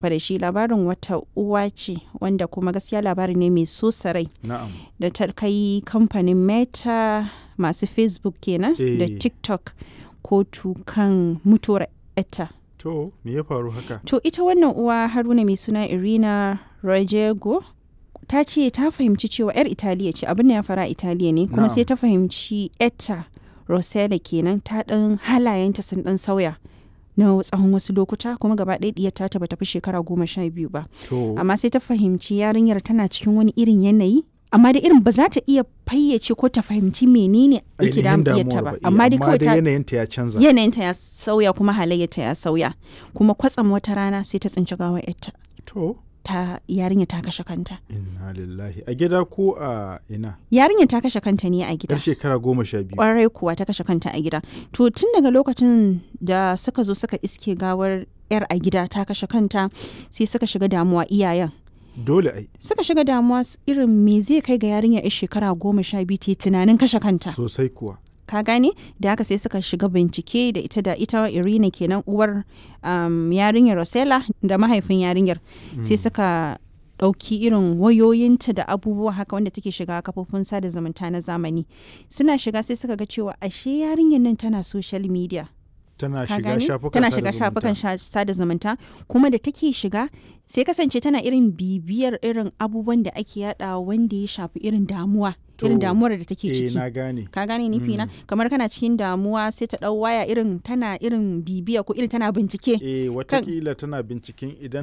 Fa da shi labarin wata uwa ce wanda kuma gaskiya labari ne mai sosa rai Na'am. da ta kai kamfanin Meta masu Facebook kenan da Eh. TikTok kotu kan mutuwar etta. To, me ya faru haka? To ita wannan uwa Haruna mai suna Irina Rojego ta ce ta fahimci cewa 'yar Italiya ce, abin da ya fara Italiya ne, kuma sai Na'am. ta fahimci etta Rosella kenan ta ɗan halayenta sun ɗan sauya na tsawon wasu lokuta, kuma gaba ɗaya ɗiyar ta bata fi shekara 12 ba. To, Amma sai ta fahimci yarinyar tana cikin wani irin yanayi, amma da irin ba za ta iya fayyace ko ta fahimci menene yake ainihin damun ɗiyarta damuwar ba. ba. Eh, Amma dai kawai dai ta yanayinta ya canza. yanayinta ya sauya kuma halayyarta ya sauya, kuma kwatsam wata rana sai ta tsinci gawar yarta, To, ta yarinya ta kashe kanta. Inna lillahi. A gida ko a ina? Yarinya ta kashe kanta ne a gida. Yar shekara 12. Kwarai kuwa, ta kashe kanta a gida. To tun daga lokacin da suka zo suka iske gawar yar a gida ta kashe kanta, sai suka shiga damuwa iyayen. Dole ai. Suka shiga damuwa irin me zai kai ga yarinya yar shekara 12 ta yi tunanin kashe kanta? Sosai kuwa. Ka gane? Da haka sai suka shiga bincike da ita Irina kenan, uwar yarinyar Rosella, da mahaifin yarinyar. Sai suka ɗauki irin wayoyinta da abubuwa haka wanda take shiga kafofin sada zumunta na zamani. Suna shiga sai suka ga cewa ashe yarinyar nan tana social media. Tana Ka shiga gane? shafukan Tana sada shiga zumunta. shafukan sada zumunta, kuma da take shiga sai kasance tana irin bibiyar irin abubuwan da ake yada wanda ya shafi irin damuwa, irin To, damuwar da take Eh, ciki. na gane. Ka gane nufi na? Kamar kana cikin damuwa sai ta dau waya, irin tana irin bibiya ko irin tana bincike. Eh, watakila tana binciken idan